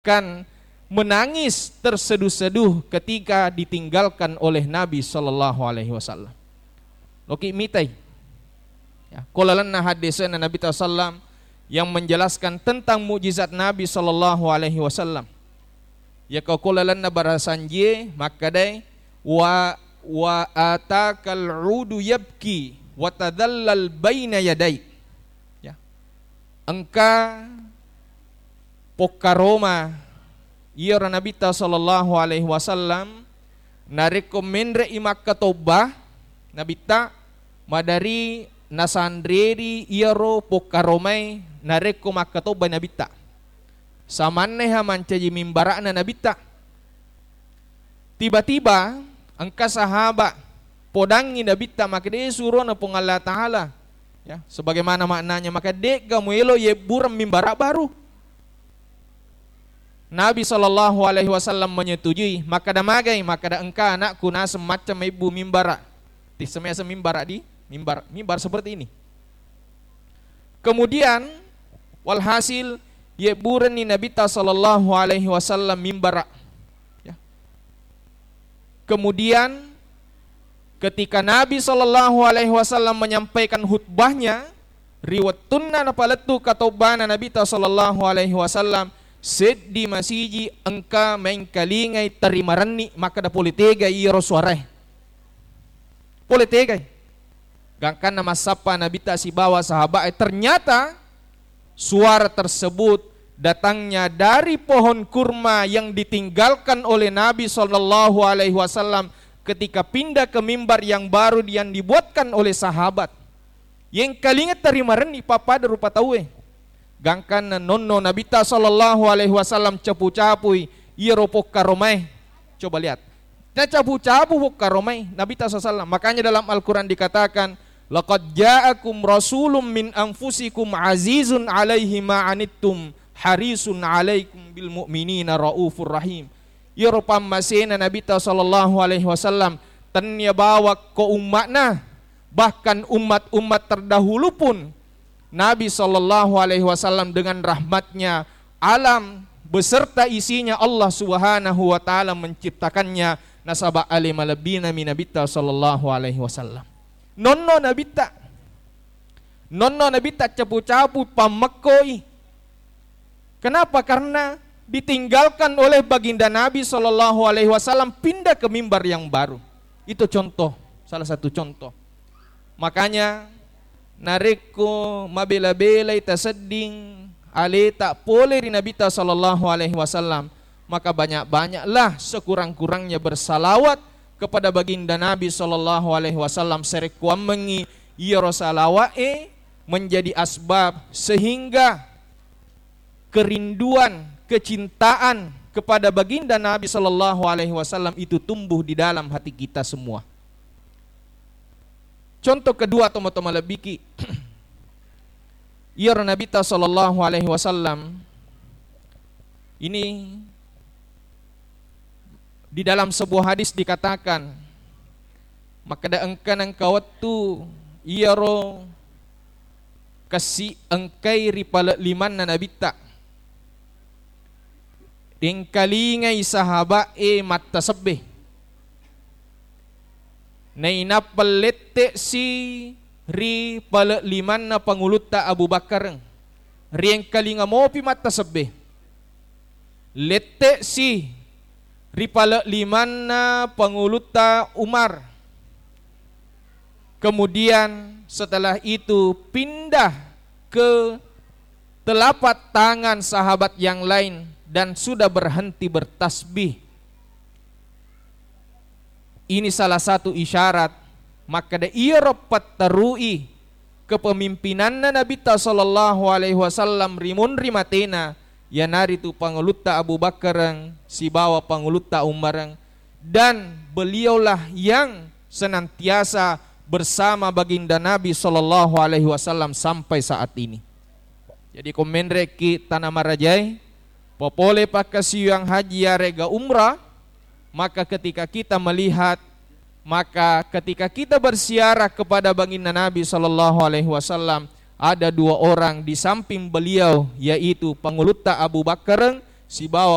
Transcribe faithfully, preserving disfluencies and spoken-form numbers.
akan menangis terseduh-seduh ketika ditinggalkan oleh Nabi sallallahu alaihi wasallam. Loki mitai. Ya, ko lalenna hadisna Nabi sallallahu alaihi wasallam yang menjelaskan tentang mukjizat Nabi sallallahu alaihi wasallam. Ya, ko lalenna barasanjie makkedai, "Wa, wa atakal udu yabki wa tadallal baina yadai." Ya. Engka pokkaroma iyaro Nabitta sallallahu alaihi wasallam, narekko menre'i makkatobba Nabitta, madari nasanreri iyaro pokkaromae narekko makkatobba Nabitta. Samanneha mancaji mimbara'na Nabitta. Tiba-tiba engka sahaba podangngi Nabitta makkeda, "Eh, surona Puang Allah Ta'ala." Ya, sebagaimana maknanya, maka de'ga muelo yebbureng mimbara baru. Nabi sallallahu alaihi wasallam menyetujui, makkeda magai, makkeda engka anakku naseng macca mebbu mimbara. Tisseng miaseng mimbara di mimbar, mimbar seperti ini. Kemudian, walhasil, yebburenni Nabitta sallallahu alaihi wasallam mimbara. Ya. Kemudian, ketika Nabi sallallahu alaihi wasallam menyampaikan khutbahnya, ri wettunna napalettu katobbana Nabitta sallallahu alaihi wasallam, seddi masiji engka maengkalingai tarimarenni makkeda pole tegai iyaro suarae. Pole tegai. Gangkanna massappa Nabitta sibawa sahaba'e, ternyata suara tersebut datangnya dari pohon kurma yang ditinggalkan oleh Nabi sallallahu alaihi wasallam ketika pindah ke mimbar yang baru yang dibuatkan oleh sahabat. Yengkalinga tarimarenni pappada rupa tauwe. Gangkanna nonno Nabitta sallallahu alaihi wasallam capu-capui iyaro pokkaromae. Coba lihat. Nacapu-capu pokkaromae Nabitta sallallahu alaihi wasallam. Makanya dalam Al-Quran dikatakan, "Laqad ja'akum rasulun min anfusikum azizun alaihi ma anittum harisun alaikum bil mu'minina raufur rahim." Iyaro pammasena Nabitta sallallahu alaihi wasallam, tennia bawakko umma'na, bahkan umat-umat terdahulu pun Nabi sallallahu alaihi wasallam dengan rahmatnya alam beserta isinya Allah Subhanahu wa Ta'ala menciptakannya, nasaba ale malebbina mi Nabitta sallallahu alaihi wasallam. Nonno Nabitta, nonno Nabitta capu-capu pammekkoi. Kenapa? Karena ditinggalkan oleh Baginda Nabi sallallahu alaihi wasallam pindah ke mimbar yang baru. Itu contoh, salah satu contoh. Makanya, narekko mabela-belai tasedding aleta pole ri Nabitta sallallahu alaihi wasallam, maka banyak-banyaklah sekurang-kurangnya bersalawat kepada Baginda Nabi sallallahu alaihi wasallam, sarekkuammengngi iyaro salawa'e menjadi asbab sehingga kerinduan, kecintaan kepada Baginda Nabi sallallahu alaihi wasallam itu tumbuh di dalam hati kita semua. Contoh kedua, tomatoa malebbiki, iyaro Nabitta sallallahu alaihi wasallam ini di dalam sebuah hadis dikatakan, makkeda engka nengka wettu iyaro kessi engkai ri pale limanna Nabitta. Engkalingai sahaba'e mattasebbe. Nainappa lette'si ri pale limanna Pangulutta Abu Bakkareng. Riengkalinga mopi mattasebbe. Lette'si ri pale limanna Pangulutta Umar. Kemudian setelah itu pindah ke telapak tangan sahabat yang lain dan sudah berhenti bertasbih. Ini salah satu isyarat makkeda iyaro patterui kepemimpinanna Nabitta sallallahu alaihi wasallam ri munri matena, iyanaritu Pangulutta Abu Bakkareng sibawa Pangulutta Umareng, dan beliaulah yang senantiasa bersama Baginda Nabi sallallahu alaihi wasallam sampai saat ini. Jadi, ko menre'ki tana marajae, popole pakkasiwiang haji yarega umrah, maka ketika kita melihat, maka ketika kita berziarah kepada Baginda Nabi sallallahu alaihi wasallam, ada dua orang di samping beliau, yaitu Pangulutta Abu Bakkareng sibawa